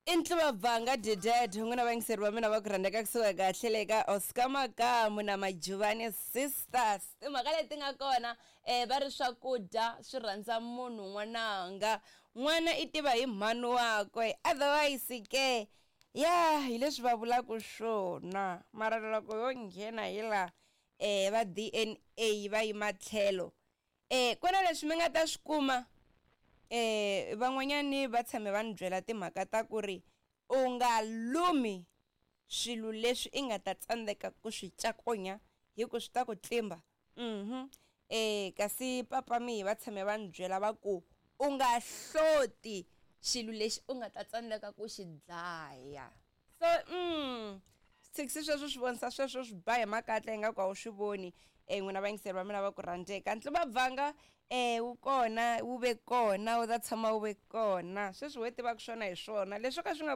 I Ntluvabvanga Dided n'wina vayingiseri va mina va ku rhandzeka kusuka kahle le ka Oscar Makamu na Majuvani Sisters. Timhaka leti nga kona va ri swakudya swi rhandza munhu n'wananga n'wana i tiva hi mhani wakwe otherwise ke ya hi leswi va vulaka swona mara loko yo nghena hi la va D_N_A va yima tlhelo ku na leswi mi nga ta swi kuma van'wanyani va tshame va ni byela timhaka ta ku ri u nga lumi swilo leswi i nga ta tsandzeka ku swi cakunya hi ku swi ta ku tlimba kasi papa mihi va tshame va ni byela va ku u nga hloti xilo lexi u nga ta tsandzeka ku xi dlaya so swithekisi sweswo swi vonisa sweswo swi ba hi makatla ingaku a wu swi voni n'wina vayingiseri va mina va ku rhandzeka Ntluvabvanga wu kona wu ve kona wu ta tshama wu ve kona sweswi ho tivaka swona hi swona leswo ka swi nga.